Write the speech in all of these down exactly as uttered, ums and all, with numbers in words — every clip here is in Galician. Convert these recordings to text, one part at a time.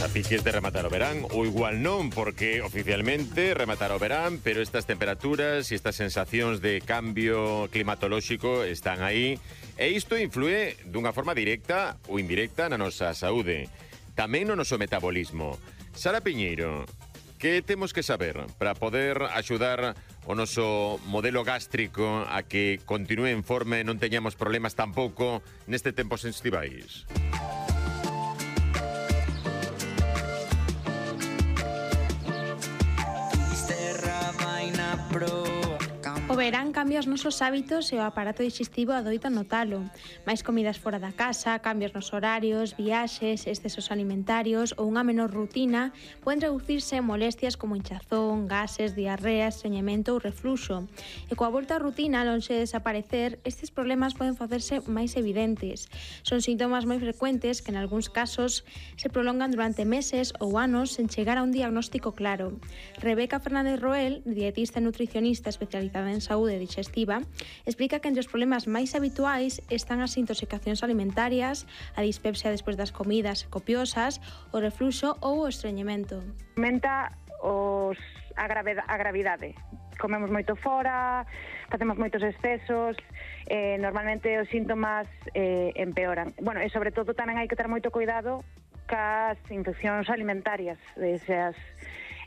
A piques de rematar o verán, ou igual non, porque oficialmente rematar o verán, pero estas temperaturas e estas sensacións de cambio climatolóxico están aí, e isto influe dunha forma directa ou indirecta na nosa saúde, tamén no noso metabolismo. Sara Piñeiro, que temos que saber para poder axudar o noso modelo gástrico a que continúe en forma e non teñamos problemas tampouco neste tempo estivais? O verán cambia os nosos hábitos e o aparato digestivo adoita notalo. Máis comidas fora da casa, cambios nos horarios, viaxes, excesos alimentarios ou unha menor rutina poden reducirse molestias como hinchazón, gases, diarreas, estreñemento ou refluxo. E coa volta á rutina, lonxe de desaparecer, estes problemas poden facerse máis evidentes. Son síntomas moi frecuentes que en algúns casos se prolongan durante meses ou anos sen chegar a un diagnóstico claro. Rebeca Fernández Roel, dietista e nutricionista especializada en saúde digestiva, explica que entre os problemas máis habituais están as intoxicacións alimentarias, a dispepsia despois das comidas copiosas, o refluxo ou o estreñemento. Aumenta os, a, gravedade, a gravidade. Comemos moito fora, facemos moitos excesos, eh, normalmente os síntomas eh, empeoran. Bueno, e sobre todo tamén hai que ter moito cuidado cas infeccións alimentarias, esas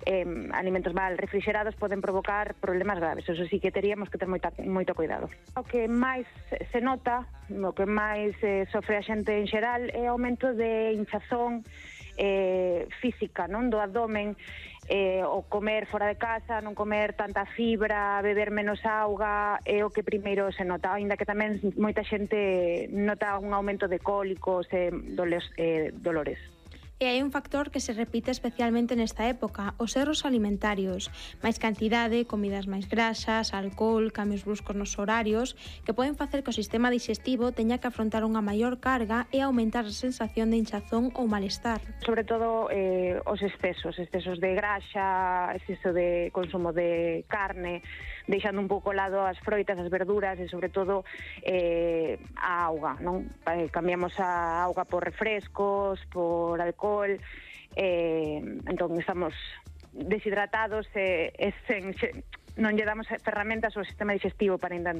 Eh, alimentos mal refrigerados poden provocar problemas graves. Eso sí que teríamos que ter moita, moito cuidado. O que máis se nota, o que máis eh, sofre a xente en xeral é o aumento de hinchazón eh, física, non, do abdomen, eh, o comer fora de casa, non comer tanta fibra, beber menos auga, é o que primeiro se nota, aínda que tamén moita xente nota un aumento de cólicos e doles, eh, dolores. E hai un factor que se repite especialmente nesta época, os erros alimentarios. Máis cantidade, comidas máis grasas, alcohol, cambios bruscos nos horarios, que poden facer que o sistema digestivo teña que afrontar unha maior carga e aumentar a sensación de hinchazón ou malestar. Sobre todo eh, os excesos, excesos de graxa, exceso de consumo de carne, deixando un pouco ao lado as froitas, as verduras e sobre todo eh, a auga, non? Eh, cambiamos a auga por refrescos, por alcohol, eh, entón estamos deshidratados e, e sen, non lle damos ferramentas ao sistema digestivo para intentar